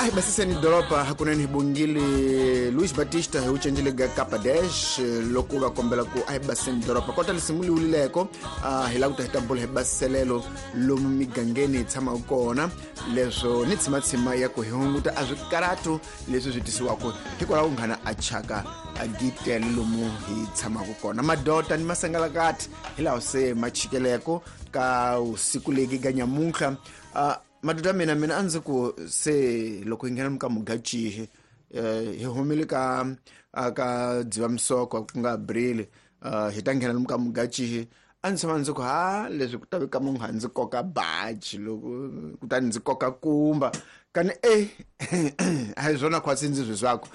A hi basiseni doroba hakunene hi bongile Luis Batista hi wu cencile ga Kapa Dash loko va kombela ku a hi basiseni doroba kota lisimu li wulileko. Hi lava ku ta hi ta bula hi basiselelo lomu migangeni hi tshamaka kona, leswo ni tshimatshima ya ku hi hunguta a swikaratu leswi swi tisiwaka hikwalaho nghana a chaka a gitele lomu hi tshamaka kona. Madota ni masangalakati hi laha se ma chikeleko ka usiku legi ga nyamuntlha. Madoda mina a ndzi ku se loko hi nghena ka Mugachihi, hi humile ka Dzivamisoko ku nga Abril, hi ta nghena ka Mugachihi. A ndzi tshama ndzi ku ha leswi ku ta ve ka munhu a ndzi koka baji loko kutani ndzi koka kumba kani a hi swona khwatsi ndzi swi swaku.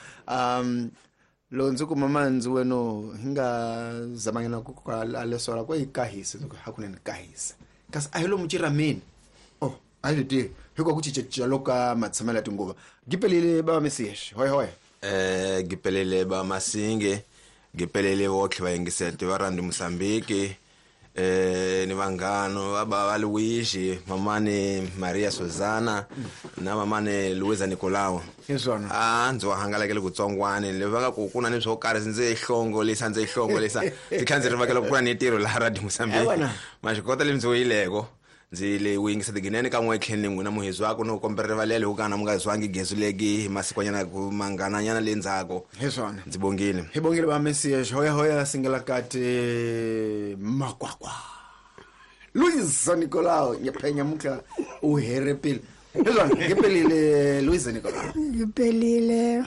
Loko ndzi kuma mandzi weno hi nga zamanyana ku a lesola ko yi kahisa, ndzi ku hakunene kahisa kasi a hi lomu chirameni. Oh, a hi swi tivi hikuva ku cincacinca loko ka matshamelo ya tinguva. Gipelile bava Mesias, hoya hoya. Gipelile ba Masinge, gipelile votlhe va yingiseti va Randi Mozambique, ni vanghano va ba va Luigi, mamani Maria Susana na mamani Luisa Nicolau. Hi swona. A ndzi wa hangalakele kutsongwani le va nga ku ku na ni swo karhi ndzi hlongolisa, ndzi hlongolisa. Ndzi tlhela ndzi rivakela ku ku na ni ntirho laha Radio Mozambique. Ewana. Ma swi kota le ndzi wuyileko. Ndzi le u yingisa tiginene ka n'we tlheni n'wina muhezi wako no kombela rivalelo hi ku kana mi nga zwangi gezu legi hi masikwanyana ku manghananyana le ndzhaku. Hi swona. Ndzi bongile. Hi bongile va Mesias, hoya hoya singalakati makwakwa. Luisa Nicolau nyephenya mutla u herepile. Hi swona, ngipelile Luisa Nicolau. Ngipelile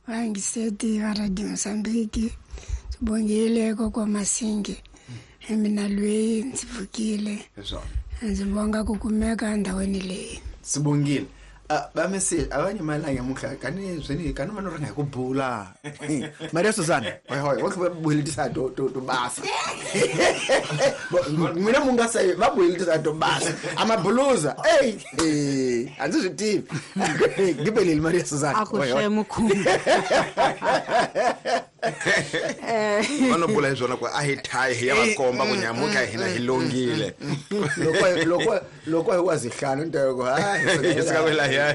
vangiseti va Radio Mozambique. Sibongile kokwa Masinge. Mina loyi ndzi pfukile. Hi swona. Ndzi bonga ku kumeka endhawini leyi. Sibongile. Va Mesias a va nyimalanga nyamuntlha kani swini kani va no ringa hi ku bula. Maria Susana, hoy hoy, wa va buhelitisa to basa. N'wina mu nga se va buhelitisa to basa. A mabuluza. Ey, a ndzi swi tivi. Gibelile Maria Susana. A ku Hoy, hoy. swe mukhumu. Va no bula hi swona ku a hi thayi hi ya va komba ku nyamuntlha hina hi longile. Loko hi wa zihlanu ni ta ku, ha, Hi suka kwela hi ya.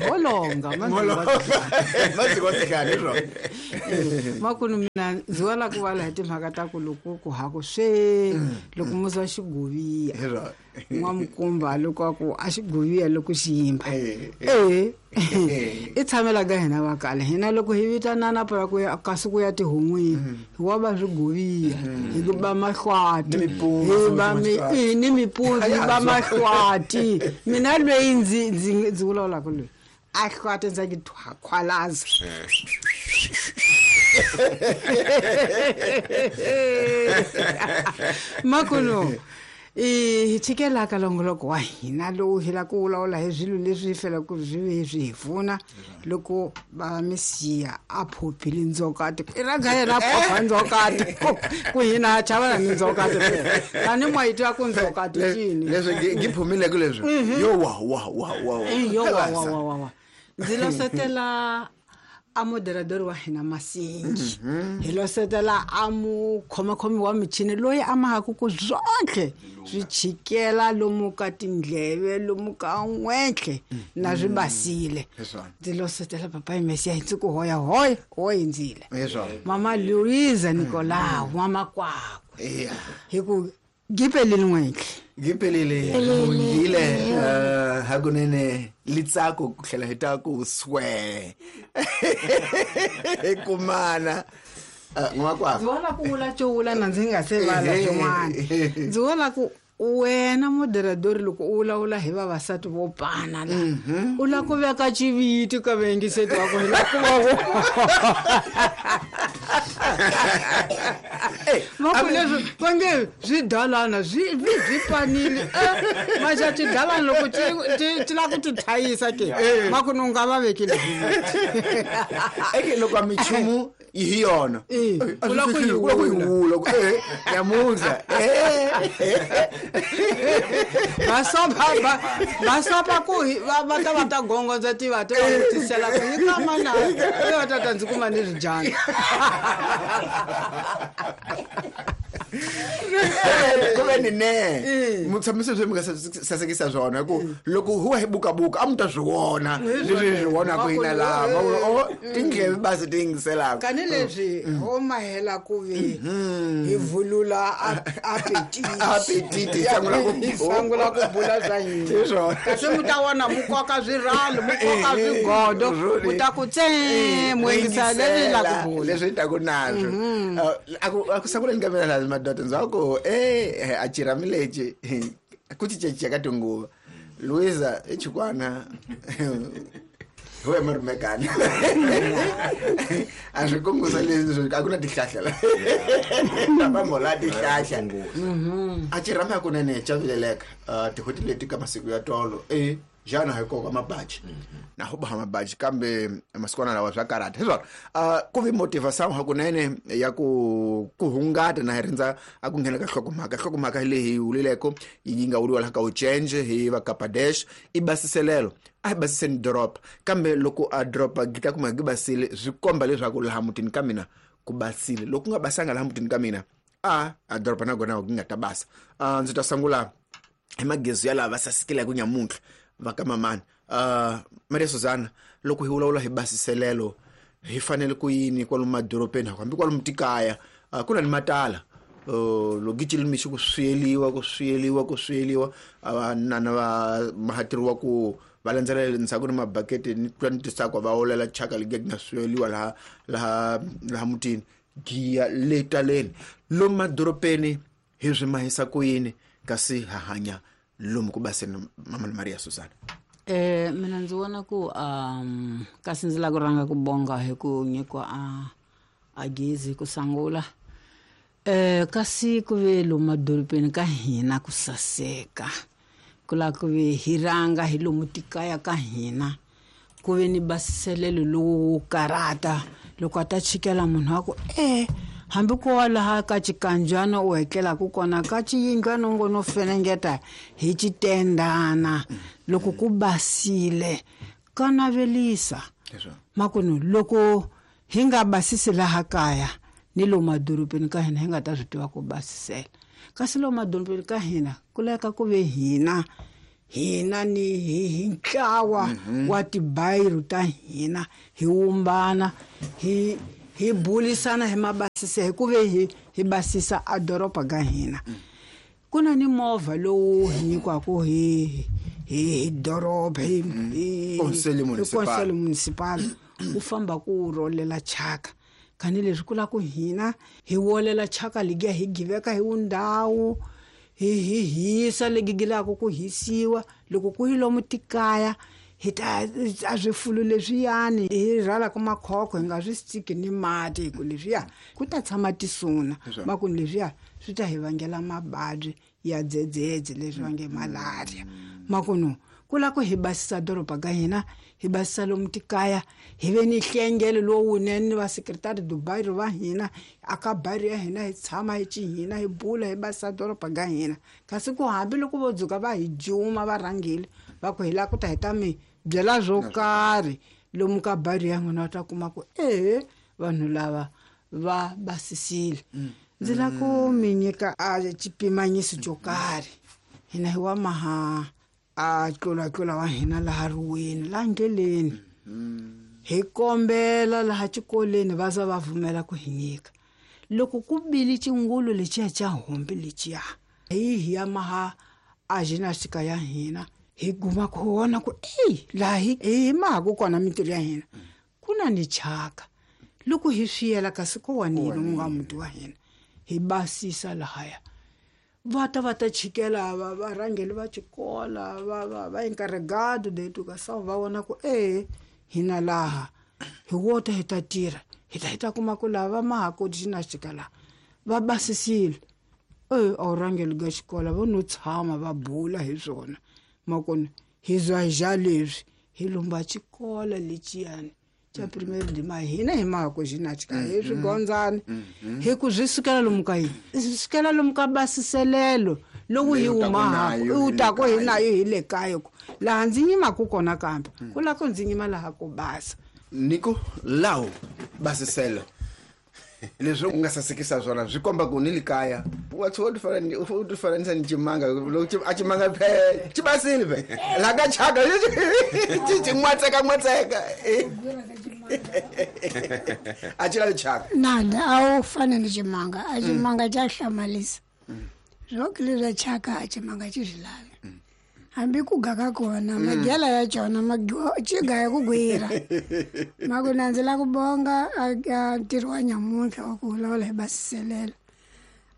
Holonga, Maziko zihlanu, hi swona. Makunu mina ndzi wa la ku vala hi timhaka ta ku loko ku ha ku swe, loko muzi wa xiguviya. Hi swona. N'wamukumba loko a ku a xiguviya loko xi yimba. I tshamela ka hina va kale. Hina loko hi vitanana para ku ya kasi ku ya tihon'wini, hi wa va swiguviya, hi ku ba mahlwati, Ni mipunzu, hi ba mi, swin'wana. ni mipunzu, hi ba mahlwati. Mina loyi ndzi vulavulaka loyi, a hlwati ndza ki khwalaza. Makuno, hi chikela ka longoloko wa hina lowu hi la ku vulavula hi swilo leswi hi felaka swi ve swi hi pfuna loko va Mesiya a phophile ndzokati. I ra ga yena a phopha ndzokati. Ku hina ha chavana ni ndzokati phela. Tani mwa yi twa ku ndzokati cini. Leswi ngi phumileke leswi. Yo wa, wa, wa, wa, wa. Yo wa, wa, wa, wa, wa. Ndzi losetela a moderador wa hina Masingi. Hi losetela a mukhomakhomi wa michini loyi a mahaku ku swontlhe swi chikela lomu ka tindleve, lomu ka n'wentlhe na swi basile. Hi swona. Ndzi losetela papa Mesiya hi ndzi ku hoya hoya, ho hindzile. Hi swona. Mama Luisa Nicolau, mama kwakwe. Hi ku gipelile n'wentlhe. Gipelile, bongile, hakunene litsako ku tlhela hi ta ku swe. Hi kumana. N'wakwakwe. Ndzi vona ku vula cowula na ndzi nga se vala swin'wana. Ndzi vona ku wena moderador loko u vulavula hi vavasati vo pana la, u la ku veka xiviti ka vayingiseti wa ku hi la ku va vo. Va ku leswi va nge swidalana swi panile. Maxa xidalana loko ti lava ku ti thayisa ke, va ku ni u nga va vekile xiviti. Eke loko a minchumu yi hi yona. A U la ku yi swi u la ku yi wula. wula, ku, nyamuntlha. Va sopa, va, va sopa ku hi, va, va ta va ta gongondza tiva, ti va vutisela ku yi ka mana, i va ta ta ndzi kuma ni swidyana. Ku ve ni ne mu tshamise swi mi nga sasekisa swona, hi ku loko huwa hi bukabuka a mu ta swi vona leswi hi swi vonaka hina laha o tindleve basi ti yingiselaka. Kani leswi ho mahela ku ve hi vulula appetit. Appetit, hi sangula ku Hi sangula ku bula swa hina. Hi swona. Kasi mu ta vona mu koka swirhalo, mu koka swigodo, mu ta ku tse mu yingisa leswi hi la ku bula. Leswi hi taku naswo. A ku sanguleni ka mina laha madoda ndzi va ku e a chirami lexi ku cincacinca ka tinguva. Luisa i chikwana hi wena marimekani a swi kungusa leswi a ku na tihlahla la vamhola tihlahla a chirami hakunene chavileleka tin'hweti leti ka masiku ya tolo e xana hi koka mabaji na ho boha mabaji, kambe masikwana lawa swa karata hi swona. Ku vi motivation hakunene ya ku hungata na hi rindza a ku nghena ka hlokomhaka. Hlokomhaka hi leyi hi wulileko yi nga wuliwa laha ka Uchenje hi va Kapadesh i basiselelo. A hi basiseni doroba, kambe loko a doroba gi ta kuma gi basile swi komba leswaku laha mutini ka mina ku basile. Loko ku nga basanga laha mutini ka mina a doroba na kona gi nga ta basa. Ndzi ta sungula hi magezi ya lava va sasekile ku nyamuntlha va ka mamani. Maria Susana, loko hi vulavula hi basiselelo hi fanele ku yini kwalomu madorobeni hambi kwalomu tikaya ku na ni matala loko yi mixo ku swiyeliwa ku swiyeliwa ku swiyeliwa nana va mahateriwa ku va landzelela ndzhaku ni mabaketi ni twa ni tisakwa va olela chaka legi nga swiyeliwa laha laha laha mutini giya le taleni lomu madorobeni hi swi mahisa ku yini kasi ha hanya lomu ku baseni mama Maria Susana? Mina ndzi vona ku kasi ndzi lava ku rhanga ku bonga hi ku nyikiwa a gezi ku sangula. Kasi ku ve lomu madorobeni ka hina ku saseka, ku lava ku ve hi rhanga hi lomu tikaya ka hina ku ve ni basiselelo lowu karata. Loko a ta chikela munhu a ku hambi ko wa laha ka xikanjwana u hetlelaku kona ka xiyindlwana u ngo no fenengeta hi xitendana, loko ku basile ka navelisa. Makunu loko hi nga basisi laha kaya ni lomu madorobeni ka hina hi nga ta swi tiva ku basisela. Kasi lomu madorobeni ka hina ku laveka ku ve hina ni hi ntlawa wa tibayiro ta hina hi wumbana hi bulisana hi mabasisa hi ku ve hi basisa a doroba ka hina. Ku na ni movha lowu hi nyikiwaka hi doroba hi Conselho Municipal wu famba ku rolela chaka. Kani leswi ku lava ku hina hi wolela chaka ligiya hi giveka hi wundhawu hi hisa legi gilaka ku hisiwa. Loko ku yi lomu tikaya hi ta a swifulu leswiyani hi rhwalaka makhokho hi nga swi stiki ni mati, hi ku leswiya ku ta tshama tisuna makuni leswiya swi ta hi vangela mavabyi ya dzedzedze leswi va nge malaria. Makunu ku lava ku hi basisa doroba ka hina, hi basisa lomu tikaya, hi ve ni hlengelo lowunene ni va secretary Dubai va hina aka bari ya hina, hi tshama hi cihina hi bula hi basisa doroba ka hina. Kasi ku hambi loko vo dzuka va hi juma va rhangile va ku hi lava ku ta hi ta mi byela swo karhi lomu ka bari ya n'wina, va ta kuma ku vanhu lava va basisile. Ndzi lava ku mi nyika a xipimanyiso xo karhi. Hina hi wa maha a tlulatlula wa hina laha riweni laha ndleleni hi kombela laha xikolweni va za va vumela ku hi nyika. Loko ku bile xingulu lexiya xa hombi lexiya hi ya maha a gymnastica ya hina hi guma ku vona ku laha hi mahaku kona mintirho ya hina ku na ni chaka. Loko hi swiyela kasi ko wanile mu nga muti wa hina hi basisa lahaya va ta chikela varhangeli va xikola va encarregado de educação va vona ku hina laha hi wota hi ta tirha hi ta kuma ku lava mahaku gymnastica laha va basisile. A wu rhangeli ka xikola vo no tshama va bula hi swona makona hi zwa hi xa leswi hi lumba xikola lexiyani xa primary de ma hina hi mahaku gymnastica hi swigondzani hi ku swi sukela lomu ka yini, swi sukela lomu ka basiselelo lowu hi humaku u taku hi nayo hi le kaya ku laha ndzi yimaku kona kambe ku lava ku ndzi yima laha ku basa. Niko lawo basiselo. Leswi u nga sasekisa swona swi komba ku ni le kaya wa tshuka u ti fananisa ni cimanga loko a cimanga phe xi basile phe laha ka chaka xi n'watseka n'watseka a xi lavi chaka. Nanda a wu fani ni cimanga, a cimanga xa hlamalisa swoke leswa chaka a cimanga xi swi lavi hambi ku ga ka kona magela ya cona xi gaya ku gwira. Maku na ndzi la ku bonga a ntirho wa nyamuntlha wa ku vulavula hi basiselelo.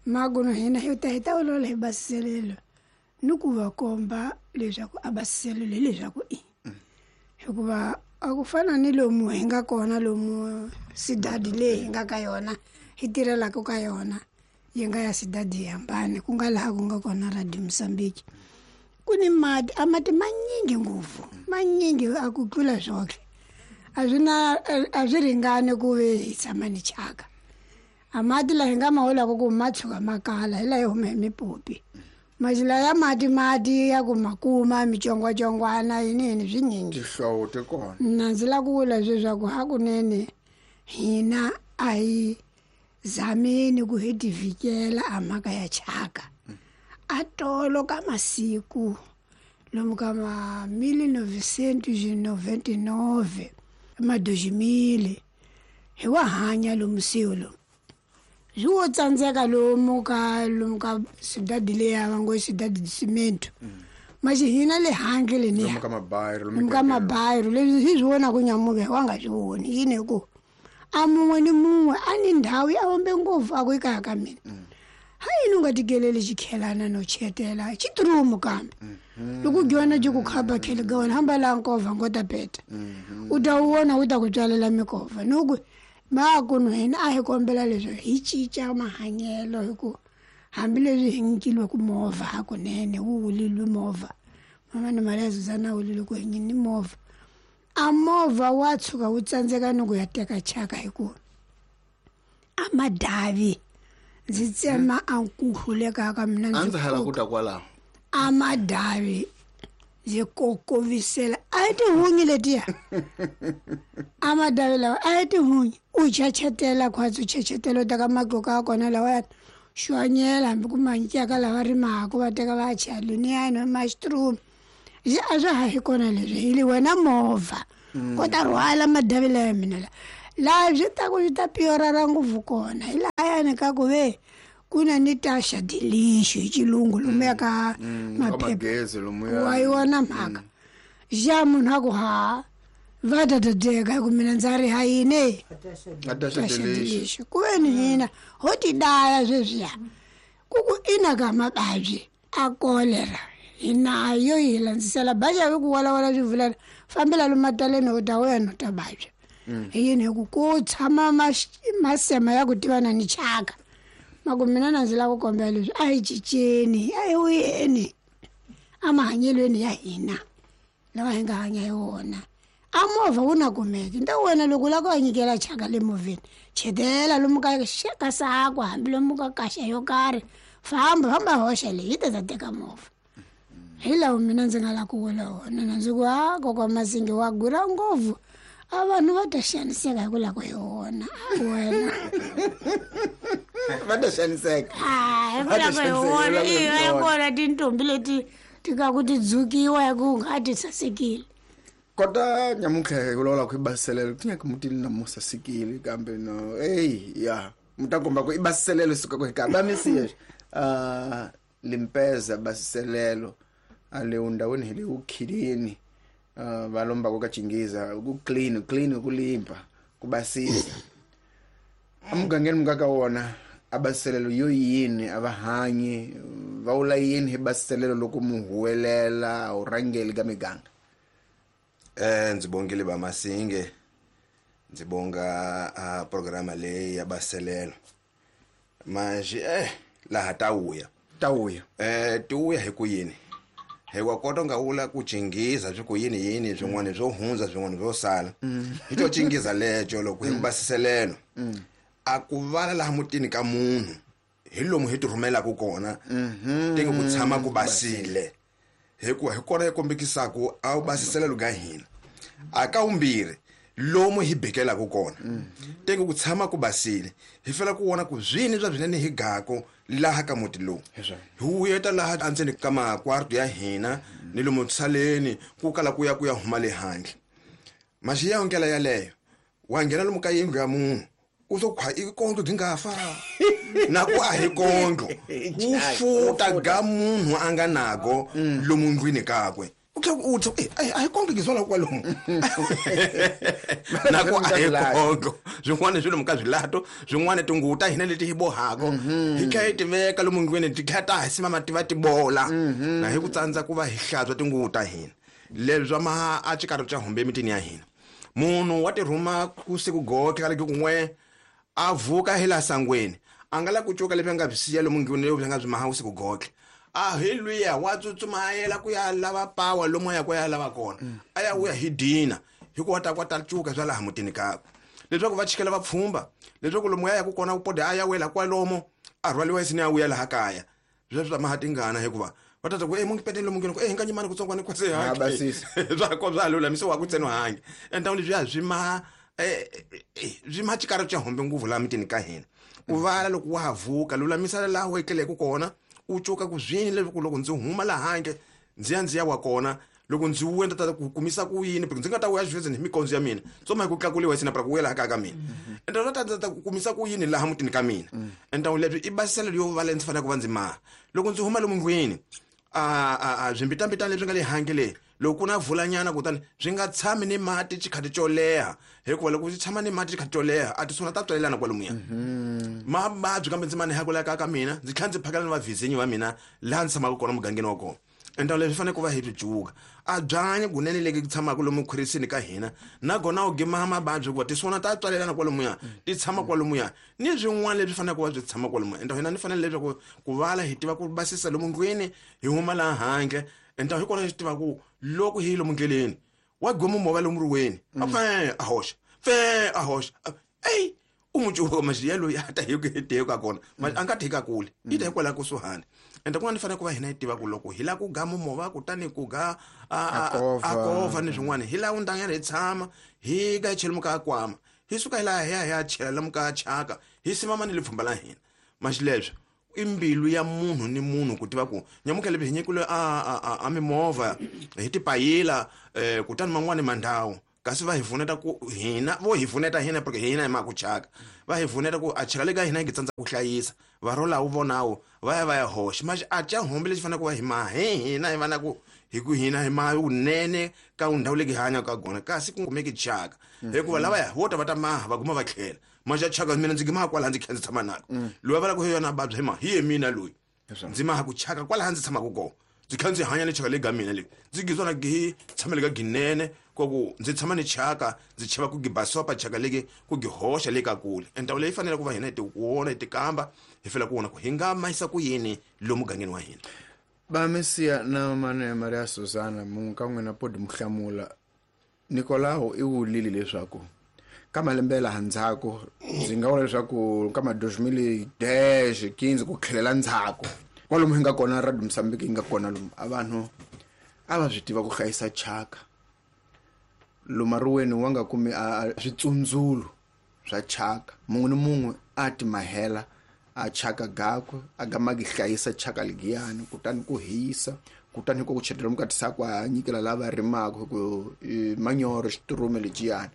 Maku no hina hi ta hi ta vulavula hi basiselelo ni ku va komba leswaku a basiselelo hileswaku i hikuva a ku fana ni lomu hi nga kona lomu sidadi leyi hi nga ka yona hi tirhelaka ka yona yi nga ya sidadi yi hambane ku nga laha ku nga kona Radio Mozambique. Ku ni mati a mati manyingi ngopfu manyingi a ku tlula swoke a swi na a swi ringani ku ve hi tshama ni chaka. A mati laha hi nga ma holaka ku ma tshuka ma kala hi laha hi huma hi mipopi mazila ya mati mati ya ku ma kuma mitsongwatsongwana yini yini swinyingi. Tihlovo ti kona. Na ndzi lava ku vula leswaku hakunene hina a hi zameni ku hi tivikela a mhaka ya chaka. A tolo ka masiku lomu ka ma 1999 ma 2000 hi wa hanya lomu siku lomu swi wo tsandzeka lomu ka lomu ka sidadi leya va ngo sidadi cimento maxi hina le handle leniya lomu ka mabayiro lomu ka mabayiro leswi hi swi vonaku nyamuka hi wa nga swi voni yini hi ku a mun'we ni mun'we a ni ndhawu ya hombe ngopfu a ku ekaya ka mina. Ha yini u nga tikeleli xikhelana no chetela xiturumu kambe loko dyona xi ku khapa khele ka wena hamba laha nkova ngo ta peta u ta wu vona wu ta ku tswalela mikova ni ku makuno hina a hi kombela leswi hi cinca mahanyelo hi ku hambileswi hi nyikiliwe ku movha hakunene wu wulilwe movha mama ni mali ya Zuzana wulile ku hi nyini movha a movha wa tshuka wu tsandzeka ni ku ya teka chaka hi ku a madavi ndzi tsema a nkuhluleka ka mina a ndzi hala ku ta kwalaho a madavi ndzi kokovisela a hi tihunyi letiya a madavi lawa a hi tihunyi u chachetela khwatsi u chachetela u teka matluka ya kona lawayani xwanyela hambi ku manyikaka lava rimaka va teka va ya chela luniyani mushroom a swa ha hi kona leswi hi li wena movha ko ta rhwala madavi laya mina la laha swi ta ku swi ta piorara ngopfu kona hi lahayani ka ku ve ku na ni taxa dilixo hi xilungu lomuya ka maphepha wa yona mhaka xa munhu a ku ha va ta tateka hi ku mina ndza ri ha yini taxa dilixo ku ve ni hina ho ti daya sweswiya ku ku ina ka mavabyi a kolera hi nayo yi hi landzisela baxa vi ku walawala swi vulela fambela lomataleni u ta wena u ta vabya hi yini hi ku ku tshama masema ya ku tivana ni chaka maku mina na ndzi lava ku kombela leswi a hi cinceni a hi wuyeni emahanyelweni ya hina lawa hi nga hanya hi wona a movha wu na kumeki nta wena loko u lava ku ya nyikela chaka le movheni chetela lomu ka ka sakwa hambi lomu ka kaxa yo karhi famba famba hoxa leyi yi ta ta teka movha hi lawo mina ndzi nga lava ku vula wona na ndzi ku a kokwa Masingi wa gula ngopfu a vanhu va ta xaniseka hi ku lava ku hi wona a wena va ta xaniseka hi ku lava hi wona i va ya kona tintombi leti ti ka ku ti dzukiwa hi ku nga ti sasekile. Kota nyamuntlha hi vulavula ku i basiselelo ti nyaka mutini na mu sasekile kambe no ey ya mu ta komba ku i basiselelo suka ku hi ka ba misiya limpeza basiselelo a le ndhawini hi le ukhilini va lombaka ka chingiza ku clean clean ku limpa ku basisa emugangeni mu nga ka wona a basiselelo yo yini a va hanyi va vula yini hi basiselelo loko mu huwelela a wu rhangeli ka miganga. Ndzi bongile ba Masinge ndzi bonga a programa leyi ya basiselelo manje laha ta wuya ta wuya ti wuya hi ku yini hi wa kota nga vula ku chingiza swi ku yini yini swin'wana swo hundza swin'wana swo sala hi to chingiza leco loko hi ku basiselelo a ku vala laha mutini ka munhu hi lomu hi ti rhumelaka kona tinge ku tshama ku basile hikuva hi kona yi kombekisaka a wu basiselelo ka hina a ka vumbirhi Lomu hi bekelaka kona teke ku tshama ku basile hi fela ku vona ku zwini swa swinene hi gako laha ka muti lowu hi wuyeta laha andzeni ka makwarto ya hina ni lomu saleni ku kala ku ya ku ya huma le handle. Maxiya ndlela yaleyo wa nghena lomu ka yindlu ya munhu u to khwa i kondlo byi nga fa na ku a hi kondlo ku futa ga munhu a nga nago lomu ndlwini kakwe u tlhela u tsa a hi kondlo gizwala kwalomu na ku a hi kondlo swin'wana swi lomu ka swilato swin'wana tinguvu ta hina leti hi bohako hi tlhela hi ti veka lomu ndlwini ti tlhela ta ha simama ti va ti bola na hi ku tsandza ku va hi hlantswa tinguvu ta hina leswi swa ma a xikarhi xa humbe emitini ya hina. Munhu wa tirhuma ku siku gotlhe ka leki kun'we a vuka hi laha sangweni a nga la ku cuka leswi a nga byi siya lomu ndlwini leswi a nga byi maha vusiku gotlhe a hi luya wa tsutsuma a yela ku ya lava pawa lomu a ya ku ya lava kona a ya vuya hi dina hikuva ta kwata cuka swa laha mutini kakwe leswaku va chikela va pfhumba leswaku lomu ya yaku kona ku pode a ya wela kwalomo a rhwaliwa isini ya vuya laha kaya sweswo swa maha tingana hikuva va tata ku e mungi peteni lomu ngeni ku e hinga nyimani kutsongwana kwase hange swa ko swa lulamisiwa ku tseno hange enta leswiya swi ma swi ma xikari xa hombe nguvu laha mitini ka hina ku vala loko wa ha vuka lulamisa laha u etleleke kona u cuka ku zwini leswaku loko ndzi huma laha handle ndzi ya wa kona loko ndzi wuya ndzi ta ku kumisa ku yini ndzi nga ta wuya xifezeni hi mikondzo ya mina so ma hi ku tlakuliwa hi sina ku wuyela kaya ka mina ende ta ndzi ta ku kumisa ku yini laha mutini ka mina ende leswi i basiselo yo va leyi ndzi faneleke ku va ndzi maha loko ndzi huma lomu ndlwini a swimbitambitana leswi nga le handle le loko ku na vulanyana kutani swi nga tshami ni mati xikhati xo leha hikuva loko swi tshama ni mati xikhati xo leha a tisona ta tswalelana kwalomuya mavabyi kambe ndzi ma ni ka mina ndzi tlhela ndzi phakela ni vavhizinyi va mina laha ndzi tshamaka kona mugangeni wa kona ende leswi fanele ku va hi byi cuka a byanyi kunene leki ku tshamaka lomu khwirisini ka hina nakona u gima mavabyi hikuva tisona ta tswalelana kwalomuya ti tshama kwalomuya ni swin'wana leswi faneleke ku va byi tshama kwalomuya ende hina ni fanele leswaku ku vala hi tiva ku basisa lomu ndlwini hi huma laha handle ende hi kona hi swi tiva ku loko hi lomu ndleleni wa goma movha lomu riweni a fe a hoxa fe a hoxa eyi u n'wi cuka maxiya loyi a ta hi ku ka kona a nga ti ka kule yi ta hikwalaho kusuhani ende kun'wana ni fanele ku va hina hi tiva ku loko hi lava ku ga movha kutani ku ga a kovha ni swin'wana hi lava ndanyana hi tshama hi ga hi chela muka kwama hi suka hi laha hi ya hi ya chela lomu ka chaka hi simama ni le pfhumba la hina maxileswo i mbilu ya munhu ni munhu ku tiva ku nyamuka leswi hi nyikile a mimovha hi tipayila kutani man'wani mandhawu kasi va hi pfuneta ku hina vo hi pfuneta hina porque hina hi ma ku chaka va hi pfuneta ku a chaka le ka hina hi tsandza ku hlayisa va rolawu vonawu va ya va ya hoxa maxi a ca hombe lexi faneleke ku va hi maha hi hina hi vana ku hi ku hina hi maha vunene ka ndhawu leyi hi hanyaka ka kona kasi ku kumeki chaka hikuva lavaya vo ta va ta maha va guma va tlhela maxi a chaka mina ndzi gimaha kwalaha ndzi kha ndzi tshama nako loyi a vulaka hi yona vabya hi ma hi ye mina loyi ndzi maha ku chaka kwalaha ndzi tshamaka kona ndzi kha ndzi hanya ni chaka leyi ga mina leyi ndzi gizwana gi tshamele ka ginene ku ndzi tshama ni chaka ndzi chava ku gibasopa chaka leki ku gi hoxa le ka kule ende leyi fanele ku va hina hi ti vona hi ti kamba hi fela ku vona ku hi nga mayisa ku yini lomu mugangeni wa hina. Va Mesiya na mane Maria Susana munhu ka n'wina podi muhlamula Nikolao i wulile leswaku ka malembe laha ndzhaku ndzi nga vula leswaku ka ma 2010 15 ku tlhelela ndzhaku kwalomu hi nga kona Radio Mozambique yi nga kona lomu a vanhu a va swi tiva ku hlayisa chaka lomu riweni wa nga kumi a switsundzulo swa chaka mun'we ni mun'we a ti mahela a chaka gakwe a gama gi hlayisa chaka ligiyani kutani ku hisa kutani ku chetela mukati sakwa a nyikela lava rimaka hi ku manyoro xiturume leciyani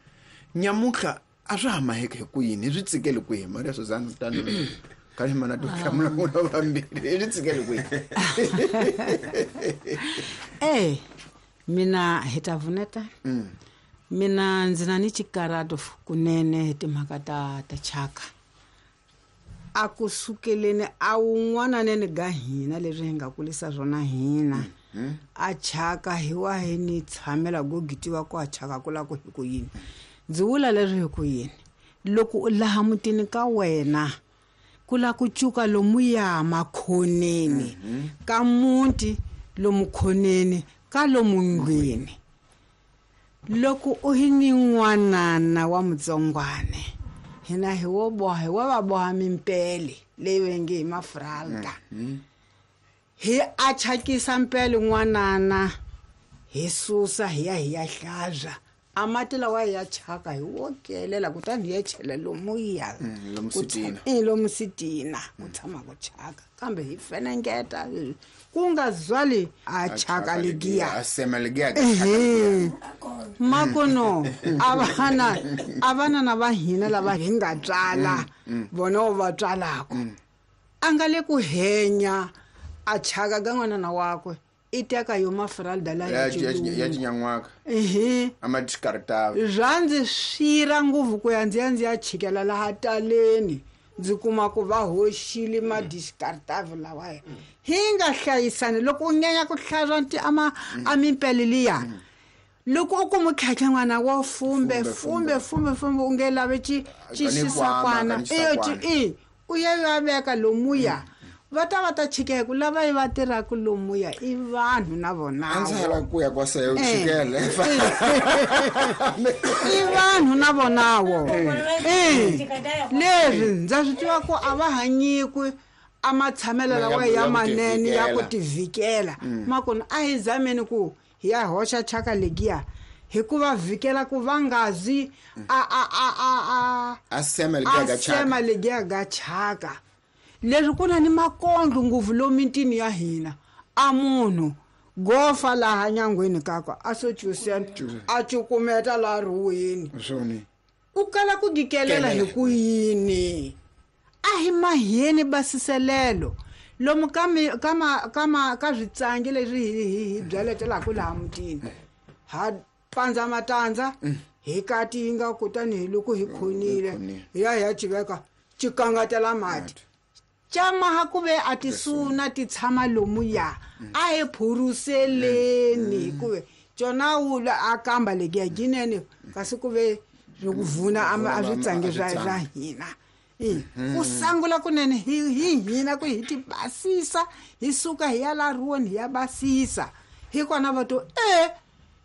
nyamutlha a swa ha maheki hi ku yini hi swi tsikele kwihi Maria Susana kutani kani mana to hlamula n'wina vambirhi hi swi tsikele kwihi. Mina hi ta vuneta mina ndzi na ni xikarato kunene hi timhaka ta chaka a ku sukeleni a wun'wananeni ga hina leswi hi nga kulisa swona hina a chaka hi wa hi ni tshamela go gitiwa ku a chaka ku la ku hi ku yini ndzi vula leswi hi ku yini loko u laha mutini ka wena ku la ku cuka lomuya makhoneni ka muti lomu khoneni ka lomu ndlwini loko u hi ni n'wanana wa mutsongwane hina hi wo boha hi wa va boha mimpele leyi va nge hi mafralta hi a chakisa mpele n'wanana hi susa hi ya hi ya hlantswa A mati lawa ya chaka hi wo kelela kutani hi ya chela lomuya lomu sitina ku tshama ku chaka kambe hi fenengeta ku nga zwali a chaka legiya a sema legiya makono a vana na va hina lava hi nga tswala vona va tswalako a nga le ku henya a chaka ka n'wanana wakwe i teka yo mafralda la ya tinyan'waka ehe a ma discartava swa ndzi swira ngopfu ku ya ndzi ya chikela laha taleni ndzi kuma ku va hoxile ma discartave lawa hi nga hlayisani loko u nyanya ku hlantswa a mimpele liya loko u kuma tlhatlha n'wana wo fumbe fumbe fumbe fumbe u nge lavi xisakwana u ya ya veka lomuya va ta chikela ku lava va tirhaka lomuya i vanhu na vona a ndzi lava ku ya kwa seyo chikela i vanhu na vonawo leswi ndza swi tiva ku a va hanyikwi a matshamelo lawa ya manene ya ku tivikela makona a hi zameni ku hi ya hoxa chaka legiya hikuva vhikela ku va ngazi a sema legiya ga chaka leswi ku na ni makondlo ngopfu lomu mitini ya hina a munhu gofa laha nyangweni kakwe a so cusena a cukumeta laha ruweni u kala ku gikelela hi ku yini a hi maheni basiselelo lomu ka switsangi leswi hi byaletelaka laha mutini ha pandza matandza hi katinga kutani hi loko hi khonile hi ya hi ya civeka cikangatela mati camaha ku ve a tisuna ti tshama lomuya a hi phuruseleni hikuve cona wula a kamba legiya ginene kasi ku ve swi ku vuna a switsangi swa hina ku sangula kunene hi hina ku hi ti basisa hi suka hi ya la ruweni hi ya basisa hikona va to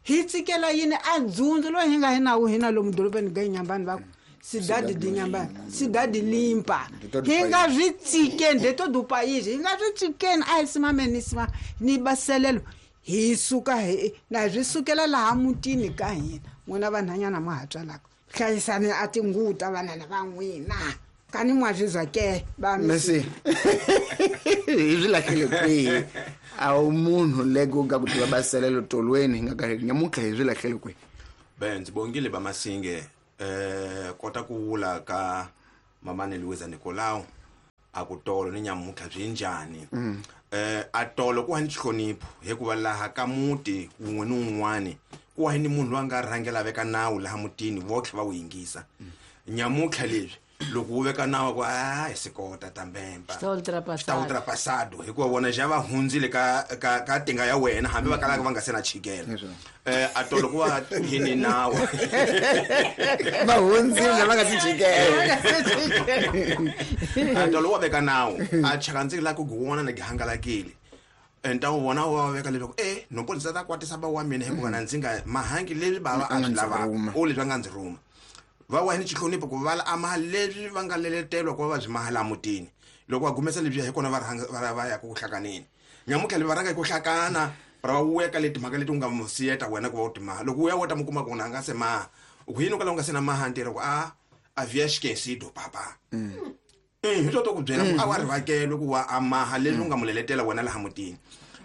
hi tsikela yini a dzundzu loyi hi nga hi nawu hina lomu dorobeni ga nyambani va ku sidadi di nyambani sidadi limpa hi nga swi tsikeni de to dupayizhi hi nga swi tsikeni a hi simameni sima ni baselelo hi suka hi na hi swi sukela laha mutini ka hina n'wina vanhanyana ma ha tswalaka hlayisani a tinguvu ta vanana va n'wina kani mwa swi zwa ke va mesi hi swi lahlele kwihi a wu munhu leko ka ku tiva baselelo tolweni hi nga ka nyamuntlha hi swi lahlele kwihi be ndzi bongile va Masinge kota ku vula ka mamani Luisa Nicolau a ku tolo ni nyamuntlha byi njhani a tolo ku hani xihlonipho hikuva laha ka muti wun'we ni wun'wani ku wa ni munhu loyi a nga rhangela veka nawu laha mutini votlhe va wu yingisa nyamuntlha leswi loko wu veka nawu ku a hi sikota tambemba xi ultrapassado hikuva vona xa va hundzile ka tinga ya wena hambi va kalaka va nga se na chikela a tolo ku va hini nawu va hundzile va nga si chikela a tolo wa veka nawu a chaka ndzi la ku guwona na gihangalakile nta wu vona wa veka leswaku no ndzi ta kwatisa ba wa mina hikuva na ndzi nga mahangi leswi bava a swi lava o leswi va nga ndzi rhuma va wa ni xihlonipho ku vala ama leswi va nga leletelwa ku va va byi mahala mutini loko va gumesa lebyi hi kona va rhanga va ya ku hlakaneni nyamuntlha leyi va rhanga hi ku hlakana ra va weka leti mhaka leti u nga mu siyeta wena ku va u timaha loko u ya wo ta mu kuma ku na nga se maha ku yini u kala u nga se na maha ntirho ku a avia xikesido papa hi to to ku byela ku a wa rivakelwe ku wa amaha leswi u nga mu leletela wena laha mutini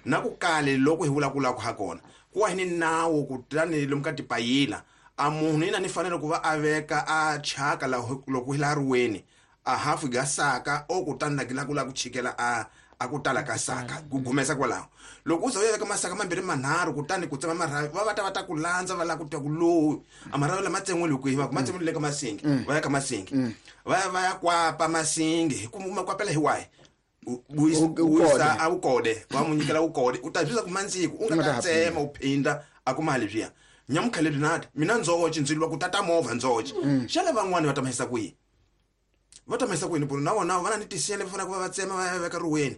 na ku kale loko hi vulavulaka ha kona ku wa hi ni nawu kutani lomu ka tipayila a munhu yina ni fanele ku va a veka a chaka loko hi laha riweni a hafu ga saka o kutani na la ku la ku chikela a ku tala ka saka ku gumesa kwalaho loko u za u ya veka masaka mambirhi manharhu kutani ku tsema marhavi va ta va ta ku landza va lava ku twa ku lowu a marhavi lama tsen'wile kwihi va ku ma tsen'wile le ka Masingi va ya ka Masingi va ya kwapa Masingi hi ku ma kwapela hi wahi wisa a wukode va mu nyikela wukode u ta byisa ku mandziko u nga ta tsema u phinda a kuma leswiya nyamuntlha lebyi nati mina ndzoci ndzi lwa ku tata movha ndzoci xana van'wani va ta mahisa kwihi va ta mahisa kwini na vona va na ni tisele va fanele ku va va tsema va ya veka riweni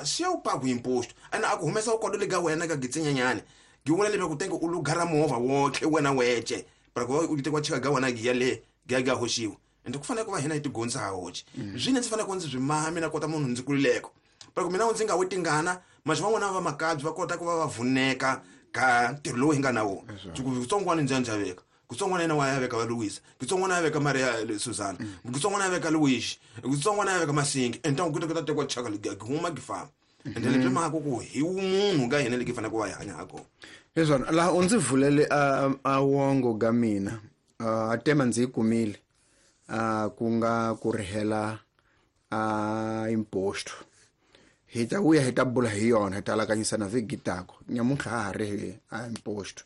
siya u paku imposto ene a ku humesa wukodo le ka wena ka gitsinyenyani gi vula leswaku tenge u lugara movha wotlhe wena wece para ku va u tekiwa chika ga wena giya le giya ga hoxiwa ende ku fanele ku va hina hi tigondzisa ha hoci swine ndzi fanele ku ndzi byi maha mina kota munhu ndzi kulileko para ku mina ndzi nga wi tingana maxi van'wana va makabyi va kota ku va va vuneka Ka ntirho lowu hi nga na wona. Kutsongwana njanja veka. Kutsongwana yena wa ya veka va Luisa. Kutsongwana ya veka Maria Susana. Kutsongwana ya veka Luis. Kutsongwana ya veka Masingi. Enta ku ta tekwa chaka huma gifama. Ende leswi mhaka ku hi munhu ka hina leki fanele ku va hi hanya ha kona. Leswi laha u ndzi vulele a wongo ga mina. A tema ndzi yi kumile. Ku nga ku rihela a imposto. Hi ta vuya hi ta bula hi yona hi ta alakanyisa na vhiki tako. Nyamuntlha ha ha ri a imposto.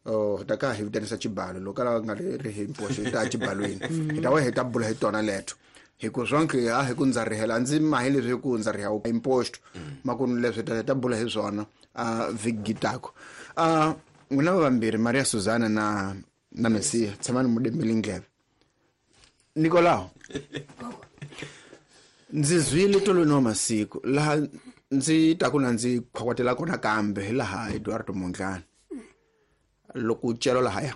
Oh, ta ka hi vitanisa xibalo loko la nga ri hi imposto hi ta xibalweni. Hi ta vuya hi ta bula hi tona leto. Hi ku swonke a hi ku ndza rihela ndzi mahi leswi hi ku ndza riha imposto. Makunu leswi ta bula hi swona a vhiki tako. N'wina vambirhi Maria Susana na Messia tshamani mudembele ndleve. Nicolao ndzi zwile tolweni wa masiku laha ndzi ta ku na ndzi khwakwatela kona kambe hi laha Eduardo Mondlane. Loko celo lahaya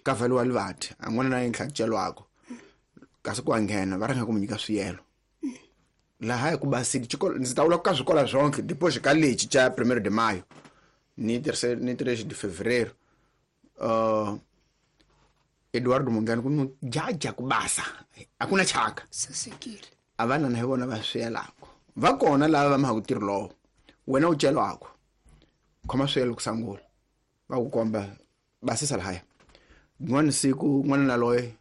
ka valiwa livati a n'wana na yinhla celwako kasi ku nghena va rhanga ku mu nyika swiyelo. Laha ku basile xikolo ndzi ta vula ka swikolo swonke depois ka lexi xa 1 de maio ni 3 de fevereiro. Eduardo Mondlane ku no jaja ku basa akuna chaka sasekile. Avana na hi vona va swiyelako va kona lava va maha ku tirho lowo wena u celwako khoma swiyelo ku sangula va ku komba basisa lahaya. N'wana siku n'wana na loye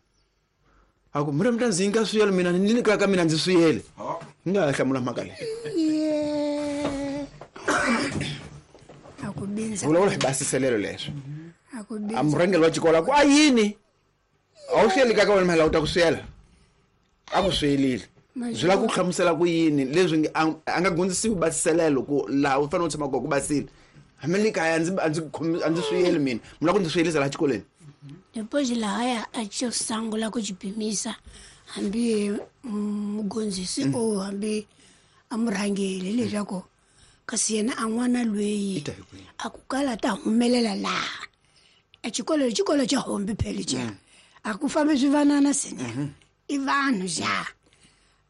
a ku mira mi ta ndzi nyika swiyelo mina ni nyika ka mina ndzi swiyele. Ni nga hlamula mhaka leyi. A ku bindza. Vulavula hi basiselelo leswi. A ku bindza. A murhangeri wa xikolo a ku a yini? A wu swiyeli ka wena mhela u ta ku swiyela. A ku swiyelile. Byi lava ku hlamusela ku yini leswi a nga gondzisiwi basiselelo ku laha u fanele u tshama kona ku basile. Hambi le kaya a ndzi swiyeli mina. Mi lava ku ndzi swiyelisa laha xikolweni? Depois lahaya a xo sungula ku xipimisa hambi mugondzisi o hambi a murhangeri leswaku kasi yena a n'wana loyi a ku kala ta humelela laha. A xikolo xikolo xa hombi phela xa. A ku fambi swivanana sene. I vanhu xa.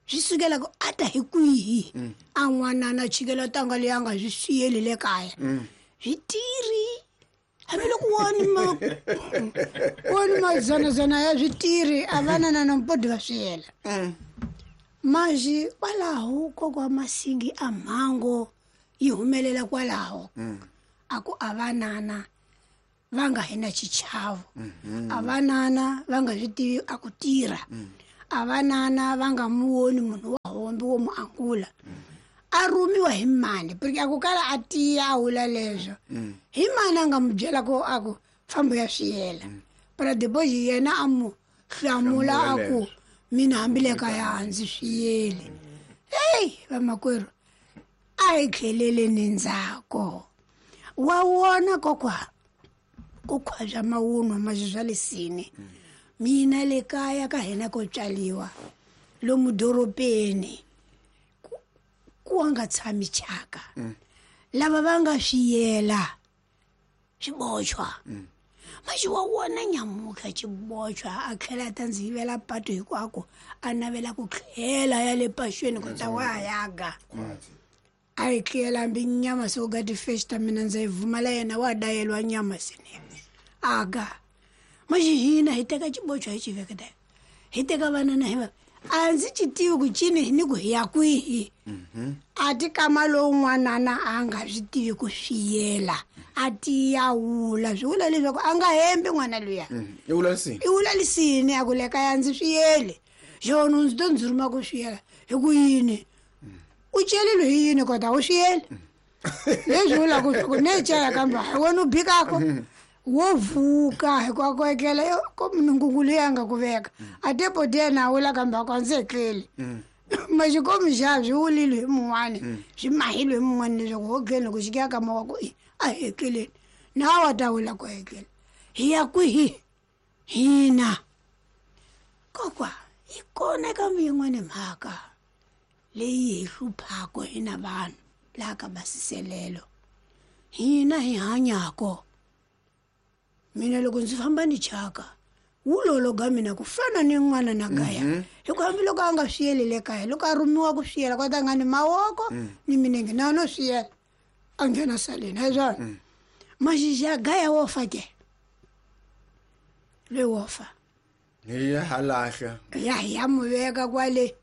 Swi sukela ku a ta hi kwihi a n'wanana chikela tanga leyi a nga swi swiyeli le kaya. Switiri hambiloko woni mazanazana ya switiri a vanana na mpodi va swiyela. Manji kwalaho kokwa Masingi a mhango yi humelela kwalaho. A ku a vanana va nga hi na xichavo. A vanana va nga swi tivi a ku tirha. A vanana va nga muwoni munhu wa hombi wo mu angula. A rhumiwa hi mani porque a ku kala a tiya a wula leswo. Hi mani a nga mu byela ku a ku fambo ya swiyela. Para depois yena a mu hlamula a ku mina hambi le kaya a ndzi swiyeli. Hey vamakwerhu a hi tlheleleni ndzhaku. Wa wona kokwa ku khwaja mawunwa mazwi swa lesini. Mina le kaya ka hina ko tswaliwa lomu dorobeni ku nga tshami chaka. Lava va nga swiyela xibochwa. Maxi wa wona nyamuka xibochwa a tlhela ta ndzi yivela pato hinkwako a navela ku tlhela ya le paxweni ku ta wa yaga. A yi tlela hambi nyama se u ga ti-fish ta mina ndza yi vumala yena wa dayeliwa nyama sene. Aga. Maxi hina hi teka xibochwa hi xi veketa. Hi teka vanana hi va a ndzi xi tivi ku cini ni ku hi ya kwihi. A ti kama lowun'wanana a nga swi tivi ku swiyela. A tiya wula swi vula leswaku a nga hembi n'wana luya. I wula lisini. I wula lisini a ku le kaya ndzi swiyeli. Xona ndzi to ndzi rhuma ku swiyela hi ku yini? U celile hi yini kota u swiyeli? Leswi vulaka ku ne caya kambe wena u bikako. Wo vuka hikuva ku etlela ko munhu leyi a nga ku veka. A te poti yena a wula kambe a ku a ndzi etleli. Maxikomi xa swi wulile hi mun'wani swi mahile hi mun'wani leswaku ho tlhela loko xi ya ka wa ku a hi etleleni. Na wa ta wula ku etlela. Hi ya kwihi? Hina. Kokwa yi kona kambe yin'wana mhaka leyi hi hluphaka hina vanhu laha ka basiselelo. Hina hi hanyako. Mina loko ndzi famba ni chaka wulolo ga mina ku fana ni n'wana na kaya. Hikuva hambiloko a nga swiyeli le kaya loko a rhumiwa ku swiyela kota nga ni mavoko ni minenge na no swiyela a nghena saleni hi swona. Maxixi ya gaya wo fa ke loyi wo fa hi ya halahla ya hi ya mu veka kwale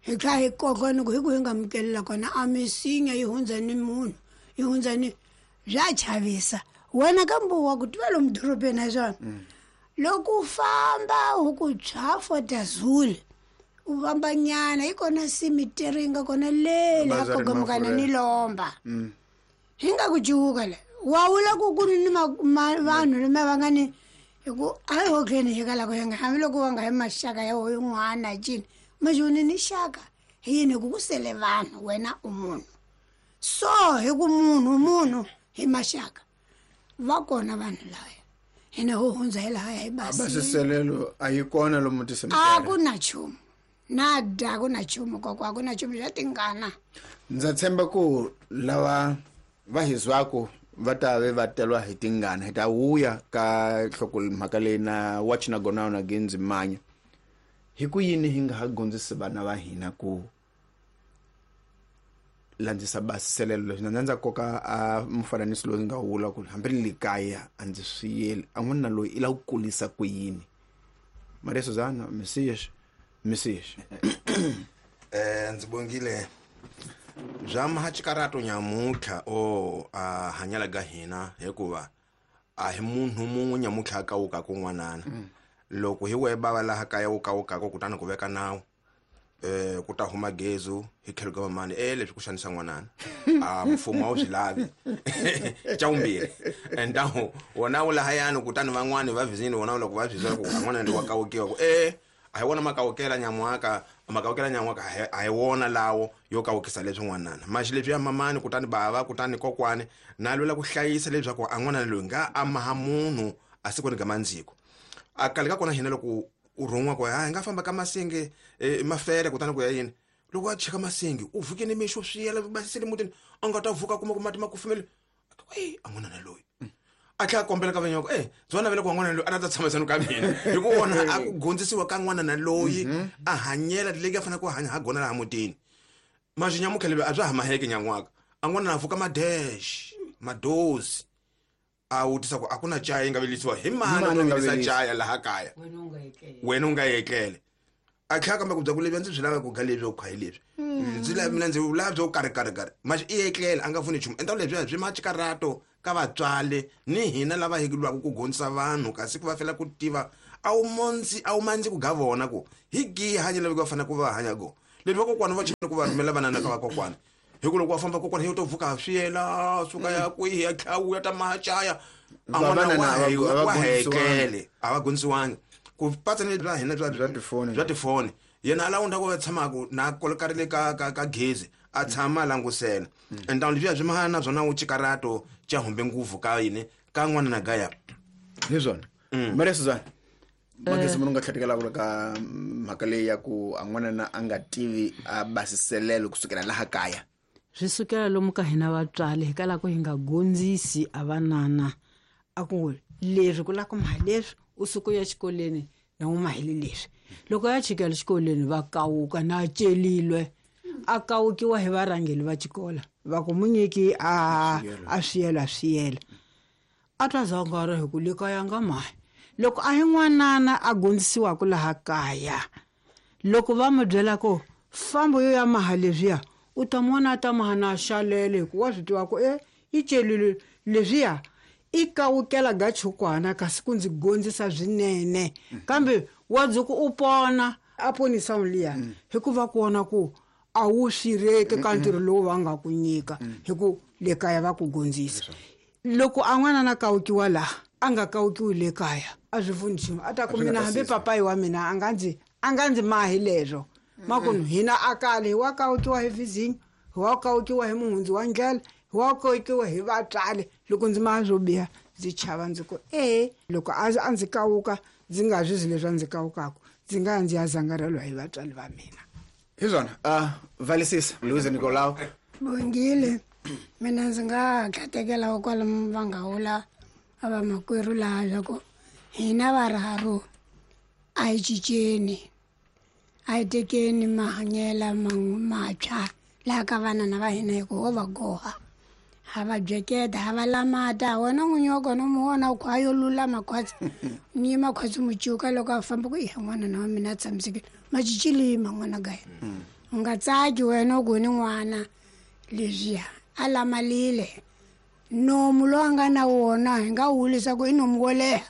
hi tlha hi koka ni ku hi ku hi nga mukelela kona a misinya yi hundza ni munhu yi hundza ni bya chavisa wena kambe wa ku tiva lomu dorobeni ha swona loko u famba u ku tshwa fotazule u famba nyana yi kona simiteri yi nga kona le laha Bazari kogamukana Mafurha. ni lomba hi nga ku cuka le wa vula ku ku ri ni vanhu lama va nga ni hi ku a hi hotleni hi kalako hi nga hambiloko va nga hi maxaka ya wo yin'wana cini maxoni ni xaka hi yini hi ku ku sele vanhu wena u munhu so hi ku munhu munhu hi maxaka va kona vanhu laya hina ho hundza hi lahaya hi basile basiselelo a yi kona lomu a tisemiteri ku na nchumu na dya ku na nchumu kokwa a ku na nchumu swa tingana. Ndza tshemba ku lava va hi zwaku va ta ve va telwa hi tingana hi ta wuya ka nhloko mhaka leyi na watch na gona na genzi manya hi ku yini hi nga ha gondzisi vana va hina ku landzisa basiselelo leswi na ndza koka a mufananiso lowu nga wula ku hambi ni le kaya a ndzi swi yeli a n'wana loyi i lava ku kulisa ku yini. Maria Suzana Messias Messias Ndzi bongile bya mahachikarato nyamutlha o a hanyela ka hina hikuva a hi munhu mun'we nyamutlha a kawukaka kun'wanana. Loko hi wehe bava laha kaya wu kawukaka kutani ku veka nawu ku ta huma gezu hi tlhelo ka mamani leswi ku xanisa n'wanana a mfumo a wu swi lavi xa vumbirhi entahu wona wu lahayani kutani van'wani va vizini wona loko va swi ku n'wana ndi wa kawukiwa ku a hi wona makawukela nyan'waka makawukela nyan'waka a hi wona lawo yo kawukisa leswi n'wanana maxi leswi ya mamani kutani bava kutani kokwani na lwela ku hlayisa leswaku a n'wanana loyi nga a maha munhu a sikwini ka mandziko a kale ka kona hina loko u rhun'wa ku hi nga famba ka masinge mafele kutani ku ya yini loko a cheka masinge u vuke ni mixo swiyela basisele mutini a nga ta vuka kuma ku mati ma kufumele a n'wanana loyi a tlhela a kombela ka vanyoko byo navela ku n'wana loyi a ta tshamisana ka mina hi ku vona a ku gondzisiwa ka n'wanana loyi a hanyela leyi a fanele ku hanya ha gona laha mutini maxi nyamutlha lebyi a bya ha maheke nyan'waka a n'wanana a vuka madesh madozi a vutisa ku a ku na chaya yi nga vilisiwa hi mani Mani ku nga vilisa vilisa? chaya laha kaya wena u nga etlele a tlhela kambe ku bya ku lebyi a ndzi byi lava ku ga lebyi ku kha hi lebyi ndzi lava mina ndzi lava byo karhi karhi karhi maxi i etlela a nga pfuni nchumu enta lebyiya byi machikarato ka vatswari ni hina lava hi lwaka ku gondzisa vanhu kasi ku va fela ku tiva a wu mondzi a wu mandzi ku ga vona ku hi gihi hanya lava va fanele ku va hanya go leswi vakokwana va chini ku va rhumela vanana ka vakokwana hi ku loko va famba kokwana hi to vuka swiyela suka ya kwihi ya tlhawuya ta mahachaya a n'wana Vavanana wa a va hekele a va gondzisiwangi ku patsa ni bya hina Bya tifoni. bya tifoni yena a lawunda ku va tshamaka na kolekarile ka gezi a tshama a langusela entawu leswiya swi mahana na swona wu chikarato xa humbe nguvu ka yini ka n'wana na gaya hi swona Maria Suzana magezi munhu nga tlhatekela ka mhaka leyi ya ku a n'wanana a nga tivi a basiselelo kusukela laha kaya swi sukela lomu ka hina vatswari hi kala ku hi nga gondzisi a vanana a ku leswi ku lava ku maha leswi u suka u ya xikolweni na u mahile leswi loko ya chikela xikolweni va kawuka na celilwe a kawukiwa hi varhangeli va xikola va ku munyiki a swiyela swiyela a twa zangara hi ku le kaya nga mahi loko a hi n'wanana a gondzisiwaka laha kaya loko va mu byela ku fambo yo ya maha leswiya u ta mona a ta maha na xalele hikuva wa swi tiva ku i celile leswiya i kawukela ga chukwana kasi ku ndzi gondzisa swinene kambe wa dzuku u pona a ponisa liya hikuva ku vona ku a wu swireki ka ntirho lowu va nga ku nyika hi ku le kaya va ku gondzisa loko a n'wana na kawukiwa laha a nga kawukiwi le kaya a swi pfuni nchumu a ta ku mina hambi papayi wa mina a nga ndzi mahi leswo makunu hina a kale hi wa kawukiwa hi vizinyo hi wa kawukiwa hi muhundzi wa ndlela hi wa kawukiwa hi vatswari loko ndzi maha swo biha ndzi chava ndzi ku loko a ndzi kawuka ndzi nga swi leswi a ndzi kawukaka ndzi nga ya ndzi ya zangarelwa hi vatswari va mina hi swona valisisa Louise Nicolau Bongile mina ndzi nga tlhatekela kwalomu va nga wula a vamakwerhu laha swa ku hina varharu a hi cinceni a hi tekeni mahanyela matshwa laha ka vanana va hina hi ku ho va goha Ha va byeketa, ha va lamata. Wena n'winyi wa kona u mu vona u kha a yo lulama khwatsi, mi yima khwatsi mu cuka loko a famba ku iya n'wana na wa mina a tshamisekile. Macicilima n'wana ka yena, u nga tsaki wena u ku ni n'wana leswiya a lamalile. Nomu lowu a nga na wona hi nga wu leswaku i nomu wo leha,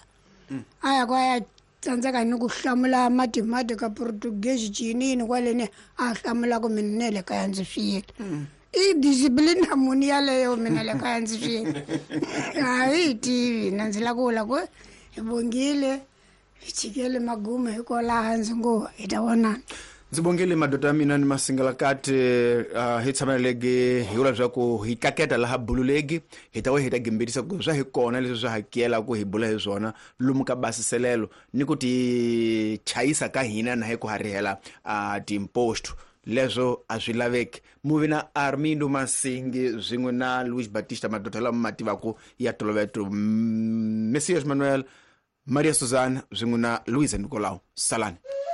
a ya ku a ya tsandzeka ni ku hlamula matimati ka Portuguese cinini kwaleni a hlamulaku mina ne le kaya ndzi swiyile. I discipline muni yaleyo? Mina le kaya ndzi swiyile, a hi tivi na. Ndzi la ku vula ku hi bongile, hi chikele magumo hikwalaha ndzi ngo hi ta vonana. Ndzi bongile madoda ya mina ni masingalakati. Hi tshamelelegi hi vula leswaku hi tlaketa laha bululegi hi ta we hi ta gimbelisa ku swa hi kona leswi swa hakela ku hi bula hi swona lomu ka basiselelo ni ku ti chayisa ka hina na hi ku harihela timposto leswo a swi laveki. Muvi na Armindo Masingi swin'we na Luis Batista, madoda lama ma tivaku ya toloveto, Messias Manuel, Maria Susana swin'we na Luisa Nicolau. Salani.